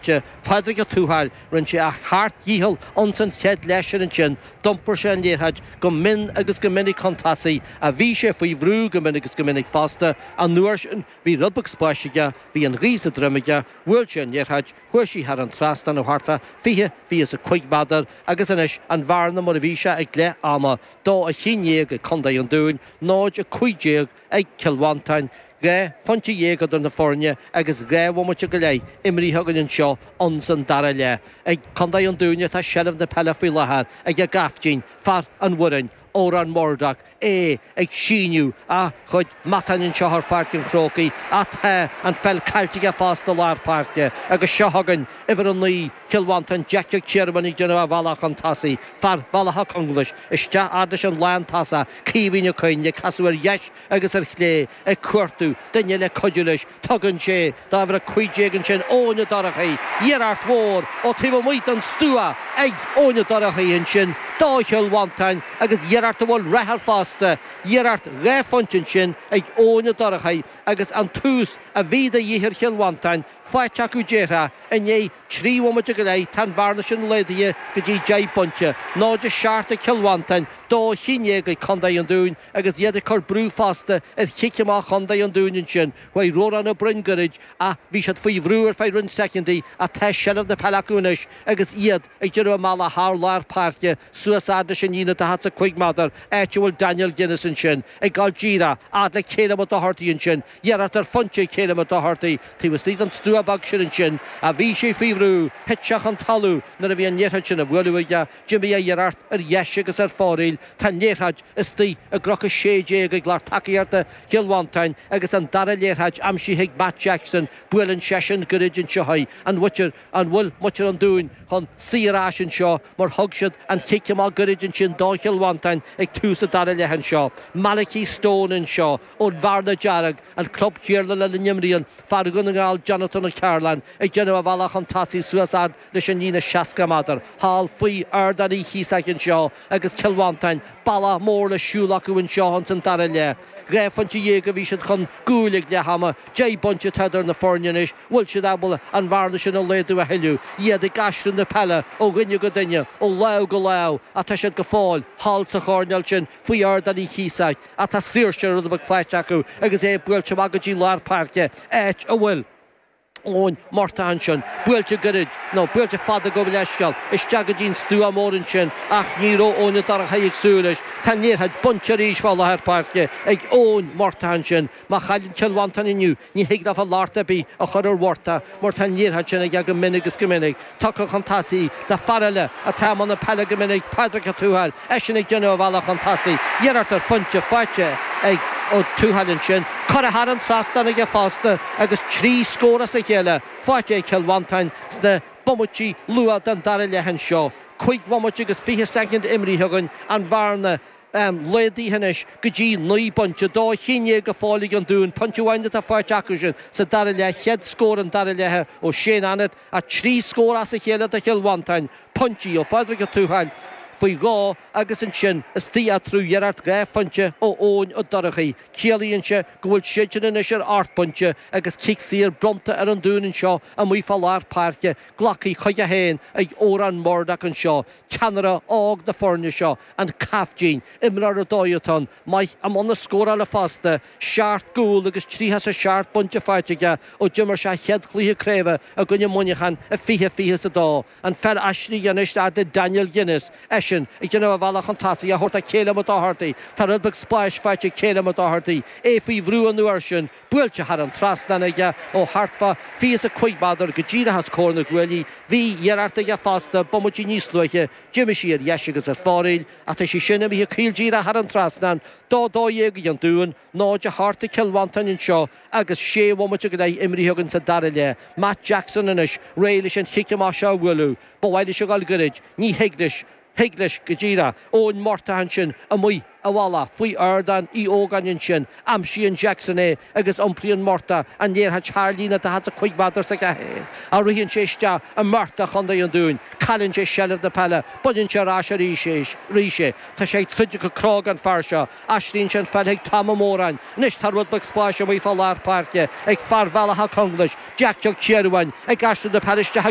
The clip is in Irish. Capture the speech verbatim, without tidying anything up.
Pádraig Ó Tuathail, rinne sé a sheacht ndícheall ins an chéad leath sin ansin, d'iompair sé an liathróid go mion agus go minic chun tosaigh, ach bhí sé faoi bhrú go mion agus go minic fosta. An uair sin bhí rud beag spáis aige, bhí an ghaoth sa droim aige, bhuail sé an liathróid, chuaigh sí thar an trasnán ó thart fá fiche, fiche is a cúig méadar agus anois an bhearna mar a bhí sé ag leath ama, dó a haon déag ag Contae an Dúin, náid a cúig déag ag Cill Mhantáin. Dhá phointe dhéag idir na foirne agus dhá bhomaite go leith imrithe againn anseo ins an dara leath. Ag Contae an Dúin atá seilbh na peile faoi láthair ag a gcaiftín, fear an Bhoireann, Odhrán Murdock, é ag síneadh a chuid matáin anseo ar Pháirc an Chrócaigh ach tá an pheil caillte aige fosta i lár páirce agus seo chugainn uimhir a naoi, Cill Mhantáin, Jeaic Ó Ciarmháin ag déanamh a bhealach chun tosaigh, fear Bhaile Átha Conglais, isteach fhad leis an lántosach, Caoimhín Ó Coinn, ag casadh ar dheis agus ar chlé, ag cuartú duine le cuidiú leis. Tugann sé do uimhir a cúig déag ansin, Eoin Ó Dorchaí, iarracht mhór ó taobh amuigh den stua ag Eoin Ó Dorchaí ansin do Chill Mhantáin agus iarracht a bhfuil rath air fosta, iarracht dhá phointe ansin ag Eoin Ó Dorchaí agus an tús a bhí de dhíth ar Chill Mhantáin faighte acu déarfá i ndiaidh trí bhomaite go leith, tá an bhearna sin laghdaithe go dtí deich bpointe, náid a seacht ag Cill Mhantáin, dó a haon déag ag Contae an Dúin agus iad ag cur brú fosta ar chic amach Chontae an Dúin ansin. Chuaigh Rónán Ó Broin gairid ach bhí siad faoi bhrú ar feadh roinnt soicindí ach tá seilbh na peile acu anois agus iad ag déanamh a mbealach thar lár páirce suas fhad leis an líne daichead 's a cúig méadar, áit a bhfuil Daniel Guinness ansin ag gabháil díreach fhad le Calum Ó Dochartaigh ansin. Iarracht ar phointe ag Calum Ó Dochartaigh taobh istigh den stua beag sin ansin ach bhí sé faoi bhrú, thit sé chun talún nuair a bhí an liathróid sin á bhualadh aige. D'imigh a iarracht ar dheis agus ar fóraoil. Tá an liathróid istigh i gcroc a sé déag ag lucht tacaíochta Chill Mhantáin agus an dara liathróid aimsithe ag Matt Jackson. Buaileann seisean gairid anseo í. An bhfuil an bhfuil muintir an Dúin chun suí ar ais anseo mar thug siad an chic amach gairid ansin do Chill Mhantáin ag tús an dara leath anseo. Malachy Stone anseo ón Bhearna Dearg, an club céanna lena n-imríonn fear Dhún na nGall Jonathan Ó Cearláin ag déanamh a bhealach chun tosaigh suas fhad leis an líne seasca méadar thall faoi Ardán Uí Chíosóg anseo agus Cill Mhantáin bealach mór le siúl acu anseo ins an dara leath. Dhá phointe dhéag a bhí siad chun gcúil ag leath ama, deich bpointe atá idir na foirne anois, bhfuil siad ábalta an bhearna sin a laghdú a thuilleadh? Iad ag aistriú na peile ó dhuine go duine, ó lámh go lámh ach tá siad go fóill thall sa choirnéal sin faoi Ardán Uí Chíosóg ach tá saoirse rud beag faighte acu agus é buailte amach go dtí lár páirce, áit a bhfuil Eoin Murtagh ansin, buailte gairid, nó buailte fada gabh mo leithscéal, isteach go dtí an stua mór ansin ach ní raibh Eoin Ó Dorchaí ag súil leis. Tá an liathróid bainte arís fá láthair páirce ag Eoin Murtagh ansin. Má chailleann Cill Mhantáin inniu, ní thig leofa locht ar bith a chur ar Mhurtagh mar tá an liathróid sin aige go minic agus go minic. Tugtha chun tosaigh do fear eile atá i mbun na peile go minic, Pádraig Ó Tuathail, eisean ag déanamh a bhealach chun tosaigh. Iarracht ar phointe faighte ag Ó Tuathail ansin. Curtha thar an trasnán aige fosta agus trí scór as a chéile faighte ag Cill Mhantáin sna bomaití luath den dara leath anseo. Cúig bhomaite agus fiche soicind imrithe againn, an bhearna laghdaithe anois go dtí naoi bpointe, dó a haon déag go fóill ag an Dún, pointe amháin atá faighte acusan sa dara leath, chéad scór an dara leath ó Shane Annett ach trí scór as a chéile do Chill Mhantáin, pointí ó Phádraig Ó Tuathail faoi dhó agus ansin istigh eatarthu iarracht dhá phointe ó Eoin Ó Dorchaí. Ciallaíonn sé go bhfuil siadsan anois ar ocht bpointe agus cic saor bronnta ar an Dún anseo amuigh fá lár páirce, glactha chuige féin ag Odhrán Murdock anseo, ceannaire óg na foirne seo, an caiftín, imreoir ar dóigh atá ann, maith i mbun na scórála fosta, seacht gcúl agus tríocha is a seacht bpointe faighte aige ó d'imir sé a chéad chluiche craoibhe i gcoinne Muineacháin i fiche fiche is a dó. An pheil aistrithe anois fhad le Daniel Guinness, eisean ag déanamh a bhealach chun tosaigh, á thabhairt do Calum Ó Dochartaigh. Tá rud beag spáis faighte ag Calum Ó Dochartaigh, é faoi bhrú an uair sin, buailte thar an trasnán aige ó thart fá fiche is a cúig méadar go díreach os comhair na gcuaillí. Bhí iarracht aige fosta bomaití níos luaithe, d'imigh sí ar dheis agus ar fóraoil, ach tá sí sin imithe caol díreach thar an trasnán. Dó dó dhéag ag an Dún, náid a hocht ag Cill Mhantáin anseo agus sé bhomaite go leith imrithe againn sa dara leath. Matt Jackson anois réidh leis an chic amach seo a bhualadh. Ba mhaith leis a dhul gairid, ní thig leis. Thig leis go díreach. Eoin Murtagh ansin amuigh i bhfolach faoi ardán Uí Ógáin ansin. Aimsíonn Jackson é agus iompraíonn Murtagh an liathróid thar líne daichead is a cúig méadar s'aige féin. Ach ritheann sé isteach i mbearta Chontae an Dúin. Cailleann sé seilbh na peile. Baineann sé ar ais arís é. Tá sé ag troid go cróga an fear seo. Aistríonn sé an pheil chuig Tom Ó Móráin. Anois tá rud beag spáis amuigh fá lár páirce ag fear Bhealach Átha Conglais, Jeaic Ó Ciardhúin, ag aistriú na peile isteach chuig